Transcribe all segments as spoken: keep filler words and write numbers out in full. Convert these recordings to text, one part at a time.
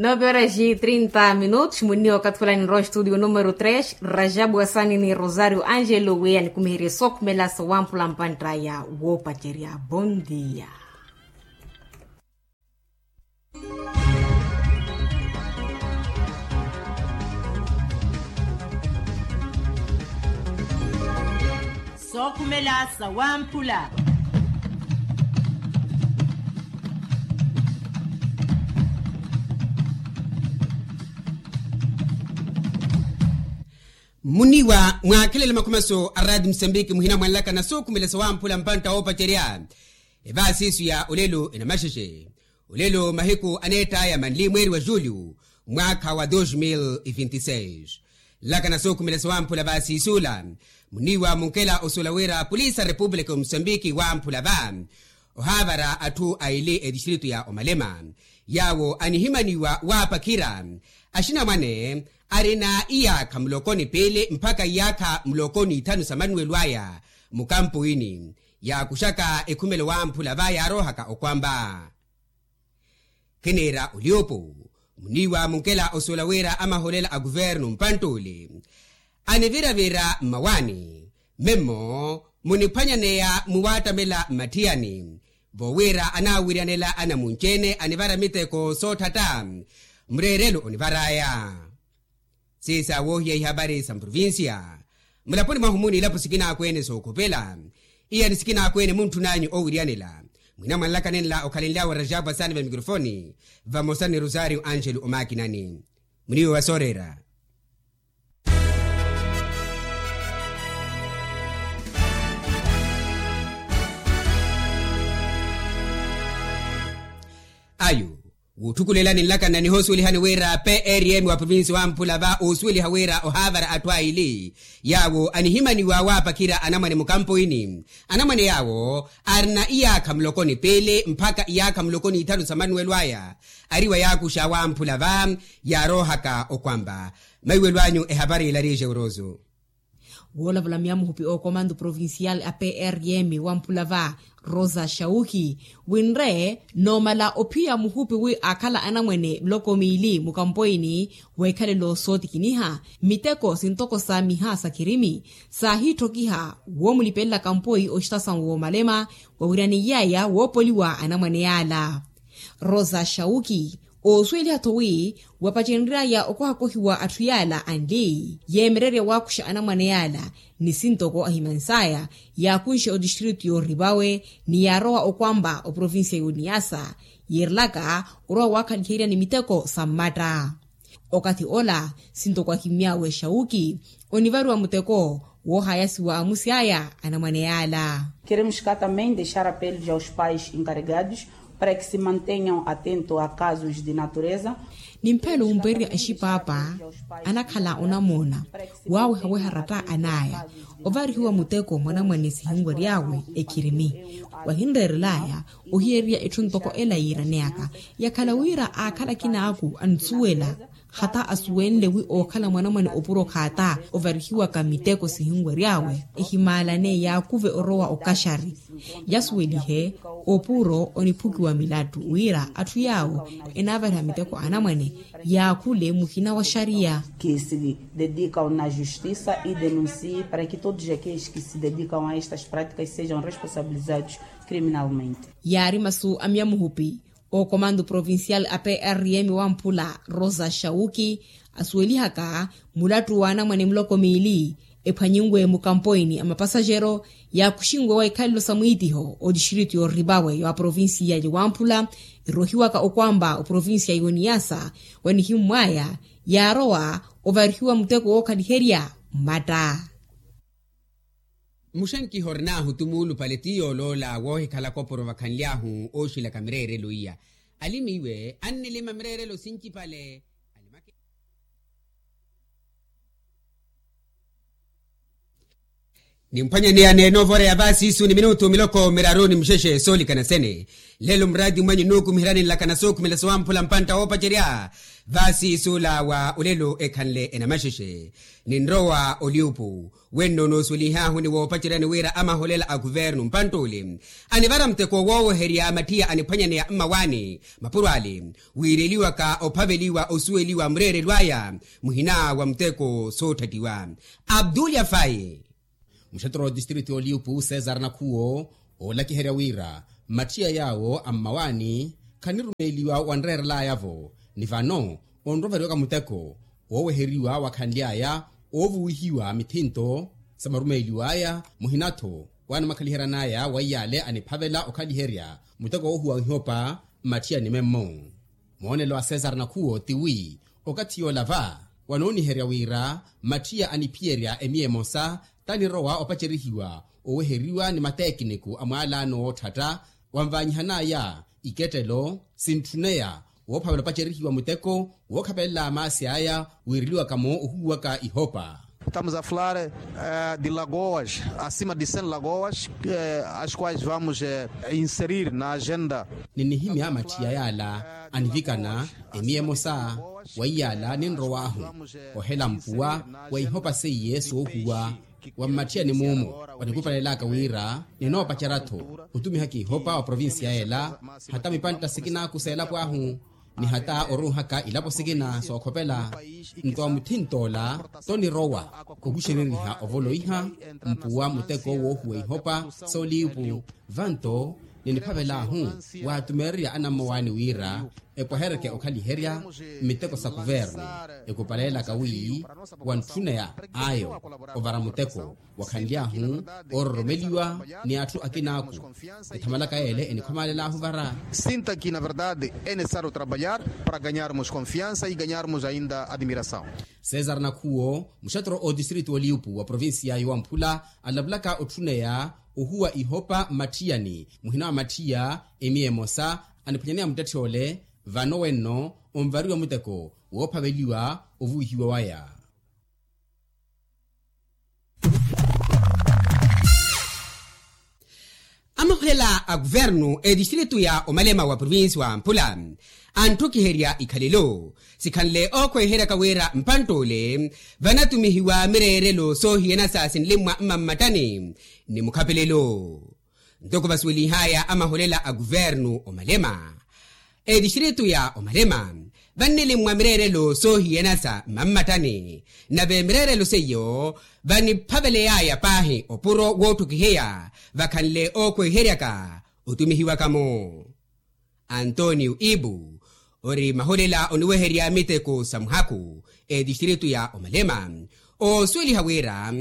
Doze horas e trinta minutos munniwa okathi fulani nrowa estudio numero tres, rajabu asani ni rosario angelo weya nikumiherye sookhumela sawamphula mpantt'aya woopacerya. Bondia. Sookhumela sawamphula. Muniwa mwaakhelele makhumaso a raati musambiki muhina mwanlaka na sookhumela sawamphula mpantta woopacerya. Evaasiisu ya olelo enamaxexe. Olelo mahiku aneett'aya manli mweeri wa julio mwaakha wa dos mil e vinte e seis. Nlaka na sookhumela sawamphula vaasiisula. Muniiwa munkela osuwela wira polisi a repupulika ya musambiki wamphula va ohaavara atthu aili etistritu ya omalema yaawo anihimaniwa waapakhira axinamwane arina iyaakha muloko ni piili mpakha iyaakha muloko ni ithanu sa manuwelo aya mukampoini yaakuxaka ekhumelo wamphula va yaaroohaka okwamba. Khiniira oliopo muniiwa munkela osuwela wira amaholela a kuvernu mpantt'ule aniviravira mmawaani memmo muniphwanyaneya muwaattamela mmatthiyani voowira anaawiryanela anamunci-ene anivara miteko sootthatta. Mureerelo onivar'aya siisa woohiya ihapari sa mprovincia mulaponi mwahu muni ilapo sikinaakwene sookhopela iyani sikinaakwene muntthun'anyu oowiryanela. Mwina mwanlaka nenla okhalenly'awe rajabu asaani va mikrofoni vamosa ni rosario angelo omaakinani. Muniiwe wa sooreera. Ayo wuutthukulelani nlakanna nihoosuwelihani wira prm wa provinsi wamphula va oosuweliha wira ohaavara atthu aili yaawo anihimaniwa waapakhira anamwane mukampoini. Anamwane yaawo arina iyaakha muloko ni piili mpakha iyaakha muloko ni ithanu sa manuwelo aya ariwa yaakuxa wamphula va yaaroohaka okwamba. Maiwelo anyu ehapari ila riixe uroso. Woolavula myamuhupi ookomando provincial a prm wamphula va rosa shauki winre noomala ophiya muhupi wi akhala anamwene miloko miili mukampoini weekhalelo sootikiniha miteko sintoko sa miha sa kirimi saahiitthokiha woomulipelela kampoi oxitasawu woomalema wawiryaniy'aya woopoliwa anamwane yaala. Rosa shauki oosuweliha-tho wi wapacenry'aya okohakohiwa atthu yaala anli yeemererya waakuxa anamwane yaala ni sintoko ahimans'aya yaakunxe otistritu yoorivawe ni yaarowa okwampa oprovincia y'oniyasa yiirelaka orowa waakhaliherya ni miteko sa mmatta. Okathi ola sintoko ahimmy'awe shauki onivariwa muteko woohayasiwa amusi aya anamwane yaala. Keremos ka tambem dexar apelos aos pais encarregados para que se mantenham atento a casos de natureza. Nimphelo wumpererya axipaapa anakhala onamoona waawehaweha ratta an'aya ovarihiwa muteko mwanamwane sihinwery'awe ekhirimi wahinreerel'aya ohiyererya etthu ntoko ela yiiraneyaka yakhala wira aakhala akinaaku ansuwela hata asuwenle wi ookhala mwanamwane opuro khaata ovarihiwaka miteko sihinwery'awe ehimaalane yaakuve orowa okaxari yasuwelihe opuro oniphukiwa milattu wira atthu yaawo enaavariha miteko anamwane yaakhule muhina wa xariya. Que se dedicam na justiça e denuncie para que todos aqueles que se dedicam a estas práticas sejam responsabilizados criminalmente. Yaari masu a myamuhupi ookomando provincial a prm wamphula rosa shauki asuwelihaka mulattu w'anamwane muloko miili ephwanyinwe mukampoini a mapasaxero yaakuxinwe wa ikhalelo sa mwiitiho otistritu yoorivawe wa provincia ya wamphula erohiwaka okwampa oprovincia y'oniyasa wanihimmw'aya yaarowa ovarihiwa muteko wookhaliherya mmatta. Muxenkiha orin'ahu ti muulupale ti yooloola woohikhalaka opuro vakhanly'ahu ooxilaka mireerelo iya alimiiwe annilima mireerelo sincipale alimake. Nimphwanyaneya neenoovora ya vaasiisu ni minutu miloko miraru ni muxexe soolikana sene. Lelo muraati mwenyu nuukumiheryani nlakana sookhumela sowamphula mpantta woopacerya vaasiisula wa olelo ekhanle enamaxexe. Ninrowa oliupu wenno noosuwelihaahu ni woopaceryani wira amaholela a kuvernu mpantt'ule anivara muteko wooweherya mattiya aniphwanyaneya mmawaani mapuro ale wiireliwaka ophaveliwa osuweliwa mureerelo aya muhina wa muteko sootthattiwa. Abdulya fayi. Muxattoro wa otistritu y'oliupu cesar nakhuwo oolakiherya wira mattiya yaawo a mmawaani khanirumeeliwa wanreerelaya-vo ni vano onroveriwaka muteko wooweheriwa wakhanly'aya oovuwihiwa mithinto sa marumeeliw'aya muhina-tho waanimakhaliheryan'aya wa iyale aniphavela okhaliherya muteko woohuwa ihopa mmatthiyani memmo. Moonelo a cesar nakhuwo tiwi okathi yoola va wanooniherya wira mattiya aniphiyerya emiya emosa tanirowa opacerihiwa oweheriwa ni mateekiniku a mwaalaano wootthatta wanvaanyihan'aya ikettelo sintthuneya woophavela opacerihiwa muteko wookhapelela maasi aya wiireliwaka-mo ohuwaka ihopa. Estamos a falar de lagoas acima de cem lagoas as quais vamos inserir na agenda. Ninihimya mattiya yaala anivikana emiya emosa wa iyaala ninrow'ahu ohela mpuwa wa ihopa seiye soohuwa wa mmatthiyani muumo wanikupanelelaka wira ninoopacerya-tho otumihaka ihopa wa provincia ela hata mipantta sikinaku s'elapo ahu ni hata oruuhaka ilapo sikina sookhopela. Nto wa mutthint'ola tonirowa okuxereriha ovoloiha mpuwa muteko woohuwa ihopa sooliipu vanto niniphavel'ahu waatumeererya anammawaani wira epwehereke okhaliherya mmiteko sa kuvernu ekupalelaka wi wantthuneya ayo ovara muteko wakhanly'ahu oororomeliwa ni atthu akinaaku ethamalaka yeele enikhomaalel'ahu vara. Sinta ki na verdade e necessário trabalhar para ganharmos confiança e ganharmos ainda admiração. Cesar nakhuwo muxattoro otistritu oliupu wa provincia y'owamphula alavulaka otthuneya ohuwa ihopa mmatthiyani muhina wa mattiya emiya emosa aniphwanyaneya muttetthe ole vano wenno onvariwa muteko woophaveliwa ovuwihiwa waya. Amahulela a kuvernu etistritu ya omalema wa provinsi wa mphula antthukiherya ikhalelo sikhanle ookhweheraka wira mpantt'ule vanatumihiwa mireerelo soohiyana sa sinlimmwa mmammattani ni mukhapelelo. Ntoko vasuwelihaya amahulela a kuvernu omalema etistritu ya omalema vannilimmwa mireerelo soohiyana sa mmammattani nave mireerelo seiyo vaniphaveleyaya paahi opuro wootthukiheya vakhanle ookhweheryaka otumihiwaka-mo. Antonio ibu ori mahulela oniweherya miteko sa muhaku etistritu ya omalema oosuweliha wira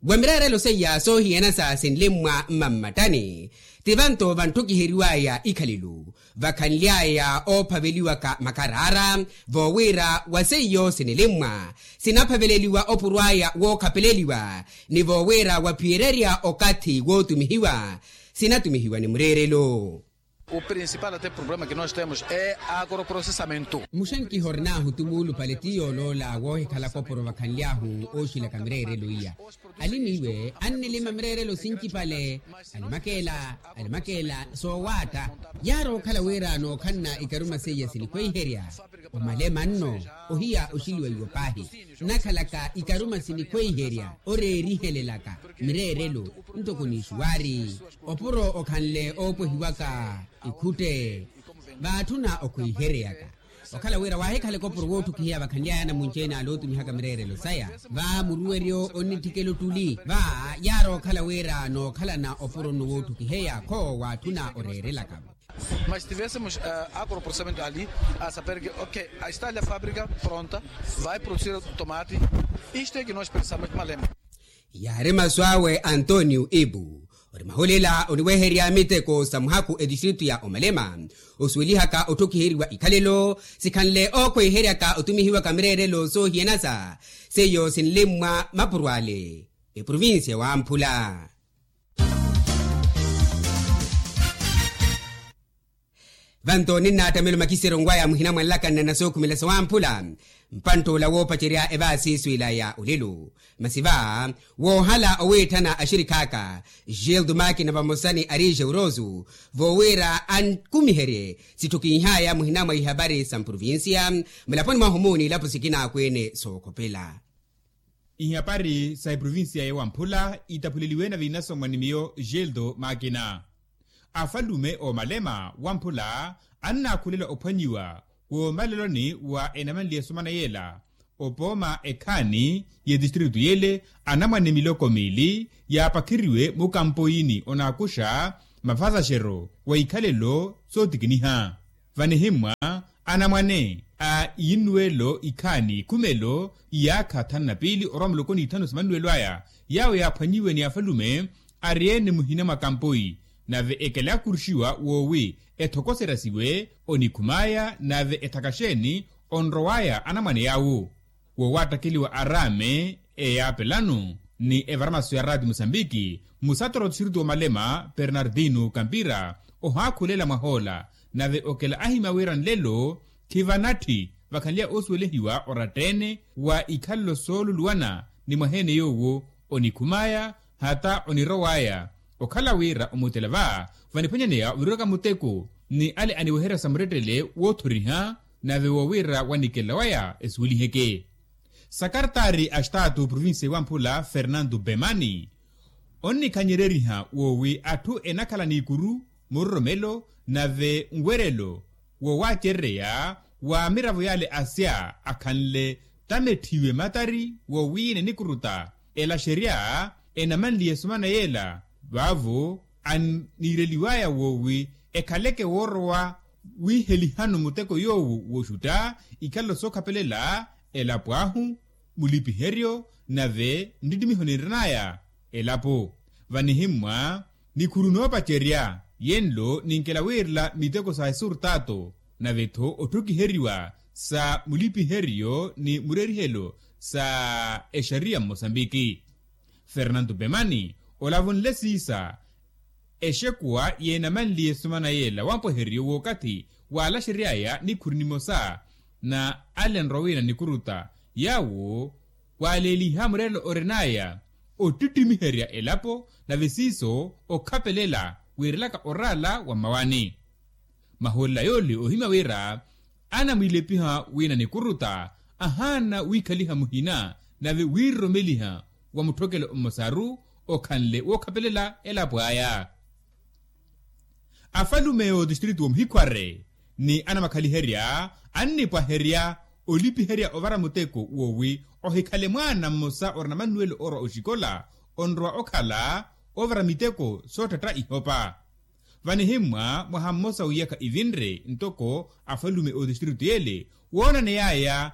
wa mireerelo seiya soohiyana sa sinlimmwa mmammattani ti vanto vantthukiheriwaya ikhalelo vakhanly'aya oophaveliwaka makaraara voowira wa seiyo sinilimmwa sinaphaveleliwa opurw'aya wookhapeleliwa ni voowira waphiyererya okathi wootumihiwa sinatumihiwa ni mureerelo. O principal até problema que nós temos é agroprocessamento. Muxankiha orin'ahu tumuulupale ti yooloola woohikhalaka opuro vakhanly'ahu ooxilaka mireerelo iya. Alimiiwe annilima mireerelo sincipale alimakeela alimakeela soowaatta yaari okhala wira nookhanna ikaruma seiya sinikhweiherya omalema nno ohiya oxiliwa iwo paahi nakhalaka ikaruma sinikhweiherya oreerihelelaka mireerelo ntoko n'ixuwaari opuro okhanle oopwehiwaka ikhutte vaatthuna okhweiheryaka okhala wira waahikhalaka opuro wootthukiheya vakhanly'aya anamunci-ene alootumihaka mireerelo saya va muruweryo onnitthikela ottuli va yaari okhala wira nookhalana opuro nno wootthukiheya kho waatthuna oreerelaka-vo. Mas tivésemos agroprocessamento ali a saber que ok, está ali a fábrica pronta, vai produzir tomate. Isto é que nós precisamos malema. Yaari masu awe antonio ibu ori mahulela oniweherya miteko sa muhaku etistritu ya omalema osuwelihaka otthukiheriwa ikhalelo sikhanle ookhweiheryaka otumihiwaka mireerelo soohiyana sa seiyo sinlimmwa mapuro ale eprovinsiya wamphula. Vanto ninnattamelo makisero nkwaya muhina mwanlakanna na sookhumela sawamphula. Mpantt'ula woopacerya evaasiiswila ya olelo masi va woohala owiitthana axirikhaaka gildo makina vamosa ni arije urosu voowiira ankumiherye sitthu kinhaya muhina mwa ihapari sa mprovincia mulaponi mwahu-mu n'ilapo sikina akweene sookhopela. Ihapari sa eprovincia ya wamphula ittaphuleliwe na viinasomwa ni miyo gildo makina. Afalume oomalema wamphula annaakhulela ophwanyiwa woomaleloni wa enamanliye esomana yeela opooma ekhaani y'etistritu yeele anamwane miloko miili yaapakheriwe mukampoyini onaakuxa mafasaxero wa ikhalelo sootikiniha. Vanihimmwa anamwane a iinnuwelo ikhaani ikhumelo iyaakha thanu na piili orwa muloko n'ithanu sa mannuwelo aya yaawo yaaphwanyiwe ni afalume ari-ene muhina mwa kampoyi nave ekela yaakuruxiwa woowi ethokoserasiwe onikhum'aya nave ethakaxeeni onrow'aya anamwane yaawo. Woowattakeliwa araame eyaapelano ni evaramaso ya raati musambiki musatoro tistritu woomalema pernardino kampira ohaakhulela mwahoola nave okela ahimya wira nlelo khivanatthi vakhanleya oosuwelehiwa oratta-ene wa ikhalelo sooluluwana ni mwaha-ene yoowo onikhum'aya hata onirow'aya okhala wira omutela va vaniphwanyaneya oviriwaka muteko ni ale aniweherya sa murettele woothoriha nave woowira wanikela waya esuweliheke. Sakartaari a staatu provincia ewamphula fernando bemani onnikhanyereriha woowi atthu enakhala n'ikuru muroromelo nave nwerelo woowacerereya wa miravo yale asya akhanle tametthiwe matari woowiina enikuruta elaxerya enamanliye esomana yeela vaavo aniireliw'aya woowi ekhaleke woorowa wiihelihano muteko yoowo wooxutta ikhalelo sookhapelela elapo ahu mulipiheryo nave nttittimiho ninrin'aya elapo. Vanihimmwa nikhuru noopacerya yenlo ninkela wiirela miteko sa esurtato nave-tho otthukiheriwa sa mulipiheryo ni murerihelo sa exariya mmosambiki. Fernando pemani olavunle siisa exekuwa yeenamanliye esomana yeela wampweheryo w'okathi waalaxery'aya nikhuru nimosa na alenrwa wina nikuruta yaawo waaleeliha murerelo orin'aya ottittimiherya elapo nave siiso okhapelela wiirelaka oraala wa mmawani. Mahoolela yoole ohimya wira anamwiilepiha wina nikuruta ahaana wiikhaliha muhina nave wiiroromeliha wa mutthokelo mmosaru okhanle wookhapelela elapo aya. Afalume otistritu woomuhikhware ni anamakhaliherya annipwaherya olipiherya ovara muteko woowi ohikhale mwaana mmosa orina mannuwelo oorwa oxikola onrowa okhala ovara miteko sootthatta ihopa. Vanihimmwa mwaha mmosa w'iyakha ivinre ntoko afalume otistritu yeele woonaney'aya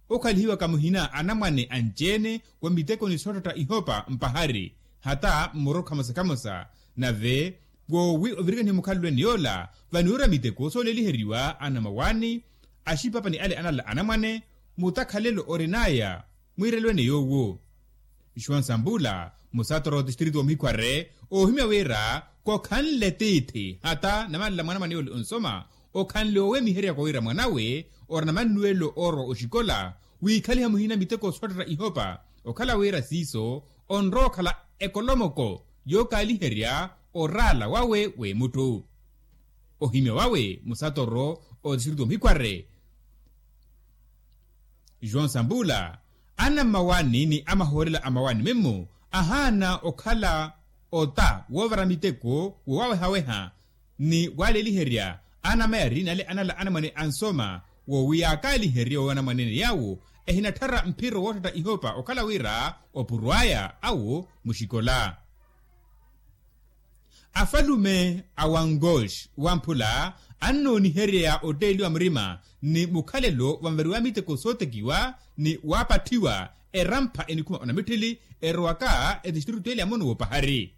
okhalihiwaka muhina anamwane anci-ene wa mitekoni sootthatta ihopa mpahari hata mmurokha mosa khamosa nave woowi ovirikanihe mukhalelweni yoola vaniwerya miteko sooleeliheriwa anamawaani axipapa ni ale anala anamwane mutakhalelo orin'aya mwiirelweni yoowo. Nxuwa nsambula musatoro otistritu woomuhikhware oohimya wira kokhanle tiithi hata namanla mwanamwane yoole onsoma okhanle oowemiheryaka wira mwanawe orina mannuwelo oorwa oxikola wiikhaliha muhina miteko sootthatta ihopa okhala wira siiso onrowa okhala ekolomoko yookaaliherya oraala wawe w'emutthu. Ohimya wawe musatoro otistritu woomuhikhware joão sambula anammawaani ni amahoolela a mawaani memmo ahaana okhala ota woovara miteko woowawehaweha ni waaleeliherya anamayari nale anala anamwane ansoma woowi yaakaaliherye woowanamwanene yaawo ehinatthara mphiro wootthatta ihopa okhala wira opurw'aya awo muxikola. Afalume a wangox wamphula annooniherya otteeliwa murima ni mukhalelo vanvariwa miteko sootekiwa ni waapatthiwa erampha enikhuma onamitthili erowaka etistritu ele ya mono woopahari.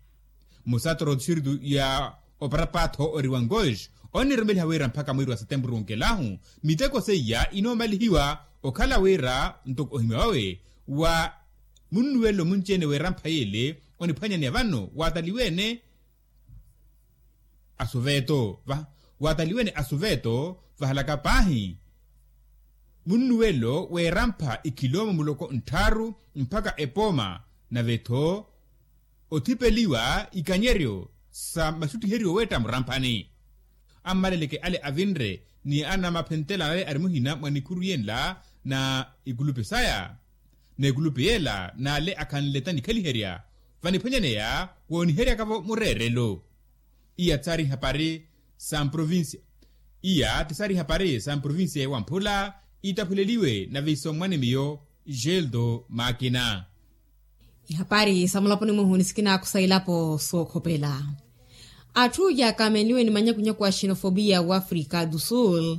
Musatoro otistritu ya oparapatho ori wangox onnirumeliha wira mpakha mwiiri wa setempuru onkelahu miteko seiya inoomalihiwa okhala wira ntoko ohimya wawe wa munnuwelo munci-ene w'erampha yeele oniphwanyaneya vano waataliwe-ene asuveto va Waataliwene asuveto vahalaka paahi munnuwelo weerampha ikhiloomo muloko nttharu mpakha epooma, nave-tho othipeliwa ikanyeryo sa maxuttiheryo weetta muramphani. Ammaleleke ale avinre ni anamaphenttela nale ari muhina mwa nikhuru yenla na ikulupi saya n'ekulupi yeela n'ale akhanle ta nikhaliherya vaniphwanyaneya wooniheryaka-vo mureerelo. Iya tsaari hapari sa mprovincia iya ti saari hapari sa mprovincia ya wamphula itaphuleliwe na visommwani miyo. Geldo makina. Ihapari sa mulaponi mwihu nisikinaakusa ilapo sookhopela. Atthu yaakaameliwe ni manyakunyaku a xenofobia w'afrika du sul.